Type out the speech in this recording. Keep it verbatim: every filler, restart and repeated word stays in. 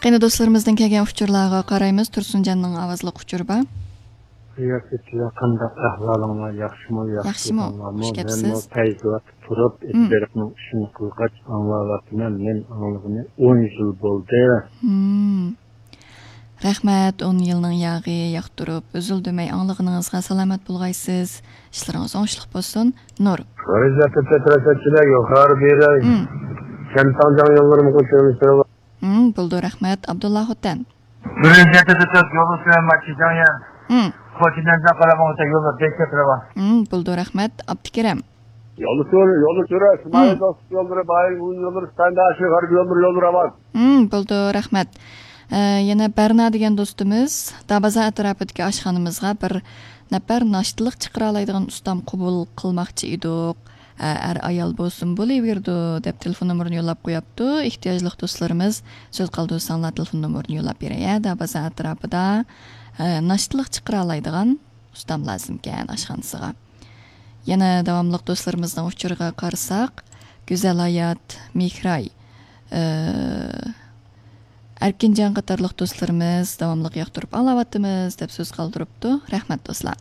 قېنى، دوستلىرىمىزدىن كەلگەن ئۇچۇرلارغا قارايمىز. تۇرسۇنجاننىڭ ئاۋازلىق ئۇچۇرى بار. رىياسەتچىلەر، قانداق ئەھۋالىڭلار؟ ياخشىمۇ؟ ياخشى ياخشىمۇ؟ تۇرساڭلارمۇ؟ خوش مەنمۇ كەپسىز. پەيزىۋاتتا تۇرۇپ، مم. ئىتبېرىقنىڭ ئىشىنى قىلغاچ ئاڭلاۋاتىمەن. مەن ئاڭلىغىنى ئون يىل بولدى. مم. رەھمەت، ئون يىلنىڭ ياغى ياقتۇرۇپ، ئۈزۈل-دۈمەي ئاڭلىغىنىڭىزغا سالامەت بولغايسىز. ئىشلىرىڭىز ئوڭۇشلۇق بولسۇن. نۇر. رىياسەتچىلەر، يۇقىرى بېرەي. مم. كەنتاڭجاڭ يوللىرىمىزغا كۆرۈنۈشتۈرۈۋال. مم، بولىدۇ، رەھمەت. ئابدۇللا خوتەن. بىرىنچى تەتۈرت يولى سۈرەن ماشىجاڭيەن. مم. خوتەننىڭ قارامۇغۇتا يولى بەك كۆتۈرەۋا. مم، بولىدۇ، رەھمەت. ئابدۇكېرىم. يولى سۈر، يولى سۈر، مم. ئىسمائىل دوست يوللىرى، بايىن يوللىرى، ستانداشى، غەرب يوللىرى، يوللىرى ئامان. مم، بولىدۇ، رەھمەت. ئە، يەنە بەرنا دېگەن دوستىمىز دابازا ئەتراپىدىكى ئاشخانىمىزغا بىر نەپەر ناشتىلىق چىقىرالايدىغان ئۇستام قوبۇل قىلماقچى ئىدۇق. ئە، ئەر ئايال بولسۇن بولۇۋېرىدۇ، دەپ تېلېفون نومۇرىنى يوللاپ قوياپتۇ. ئېھتىياجلىق دوستلىرىمىز سۆز قالدۇرساڭلار، تېلېفون نومۇرىنى يوللاپ بېرەي. دابازا ئەتراپىدا، ئە، ناشتىلىق چىقىرالايدىغان ئۇستام لازىمكەن ئاشخانىسىغا. يەنە داۋاملىق دوستلىرىمىزنىڭ ئۇچۇرىغا قارىساق، گۈزەل ھايات، مېھراي، ئە، ئەركىنجان قاتارلىق دوستلىرىمىز داۋاملىق ياقتۇرۇپ ئاڭلاۋاتىمىز، دەپ سۆز قالدۇرۇپتۇ. رەھمەت، دوستلار.